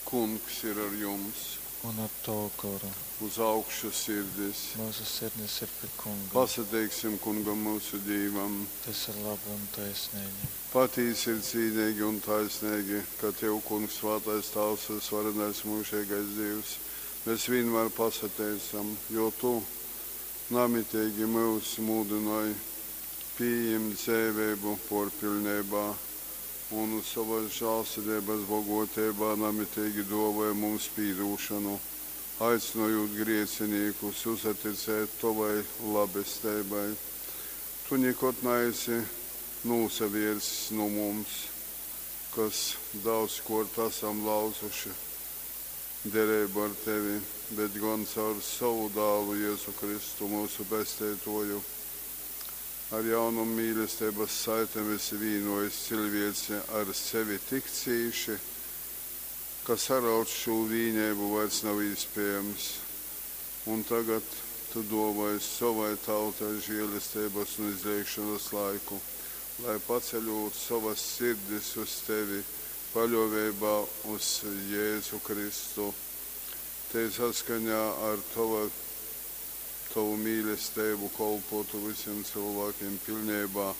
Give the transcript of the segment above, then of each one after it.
Kungs ir ar jums! Un ar tovu goru. Uz augšu sirdis! Myusu sirdis ir pi Kunga. Pasateiksim Kungam myusu Dīvam! Tys ir labi un taisneigi. Patīsi ir cīneigi un taisneigi, ka tev, Kungs, svātais Tāvs, vysvarenais myužeigais Dīvs, mes vīnmār pasateicam, jo tu namiteigi myus mūdynoj pījimt dzeiveibu pōrpiļneibā un sovas žālsirdeibas bogōteibā namiteigi dōvoj mums pīdūšonu, aicynojūt grēcinīkus uzaticēt tovai labesteibai. Tu nikod naesi nūsavērsis nu mums, kas daudzkōrt asam lauzuši dereibu ar tevi, bet gon caur sovu Dālu Jezu Kristu, myusu Pesteitōju, ar jaunom mīlesteibas saitem esi vīnōjis ciļvēci ar sevi tik cīši, ka saraut šū vīneibu vairs nav īspējams. Un tagad tu dōvoj sovai tautai želesteibas un izleigšonas laiku, lai, paceļūt sovas sirdis uz tevi paļōveibā uz Jēzu Kristu, tei saskaņā ar tova, tovu mīlesteibu kolpōtu vysim cylvākim piļneibā,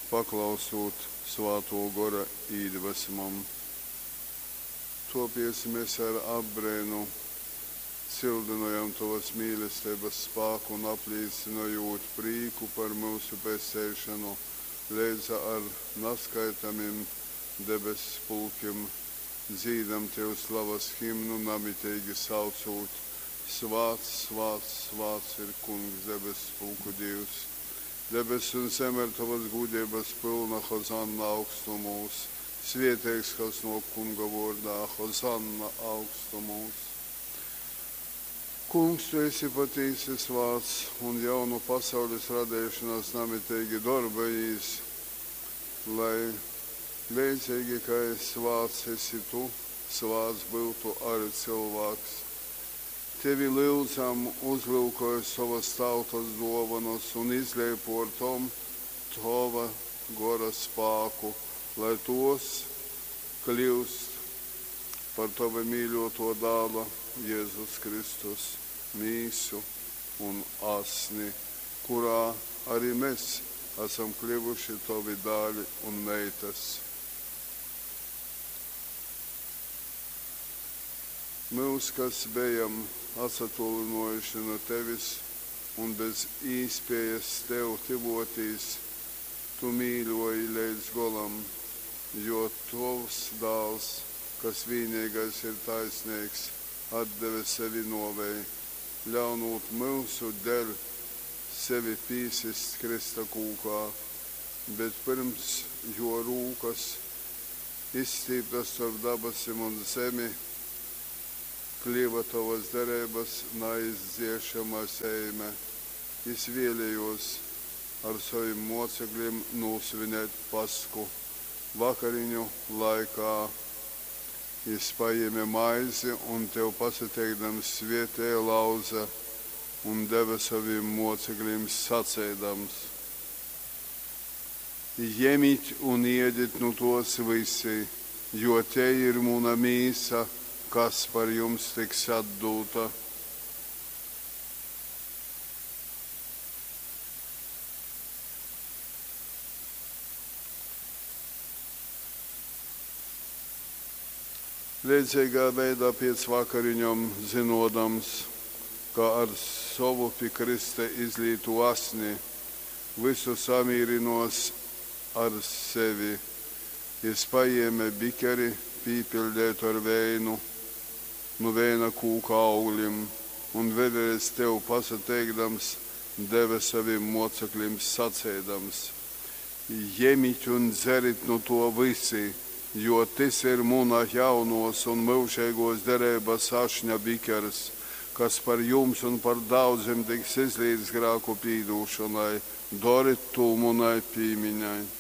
paklausūt Svātō Gora īdvesmom. Tōpēc mes ar apbreinu cyldynojam tovas mīlesteibas spāku un, aplīcynojūt prīku par myusu pesteišonu, leidza ar naskaitamim debesspulkim dzīdam tev slavas himnu, namiteigi saucūt, Svāts, svāts, svāts ir Kungs debesspulku Dīvs. Debess un zeme ir tovas gūdeibas pylna, Hozanna augstumūs. Svieteigs, kas nōk Kunga vōrdā, Hozanna augstumūs. Kungs, tu esi patīsi svāts un jau nu pasaules radeišonas namiteigi darbojīs, lai leidzeigi kai svāts esi tu, svāts byutu arī cylvāks. Tevi lyudzam, uzlyukoj sovas tautas dōvonas un izlej pōr tom tova gora spāku, lai tōs kļyust par tova mīļōtō dāla Jēzus Kristus mīsu un asni, kurā arī mes asam kļuvuši tovi dāli un meitas. Myus, kas bejam atsatōlynōjuši nu tevis un bez īspējas tev tyvōtīs, tu mīļōji leidz golam, jo tovs Dāls, kas vīneigais ir taisneigs, atdeve sevi nōvei, ļaunūt myusu dēļ sevi pīsist krysta kūkā. Bet pyrms jō rūkas, izstīptas storp dabasim un zemi, kliva tovas dereibas naizdziešama zeime, jys vēlējōs ar sovim mōceklim nūsvinēt Paschu. Vakariņu laikā jys pajēme maizi un, tev pasateikdams, svētēja, lauze un deve sovim mōceklim, saceidams. Jemit un ēdit nu tōs vysi, jo tei ir muna mīsa, kas par jums tiks atdūta. Leidzeigā veidā pēc vakariņom, zynōdams, ka ar sovu pi krysta izlītū asni vysu samīrynōs ar sevi, jys pajēme bikeri, pīpiļdeitu ar veinu nu veina kūka auglim, un vēļreiz tev pasateikdams, deve sovim mōceklim, saceidams, Jemit un dzerit nu tō vysi, jo tys ir muna jaunōs un myužeigōs dereibas ašņa bikers, kas par jums un par daudzim tiks izlīts grāku pīdūšonai. Dorit tū munai pīmiņai.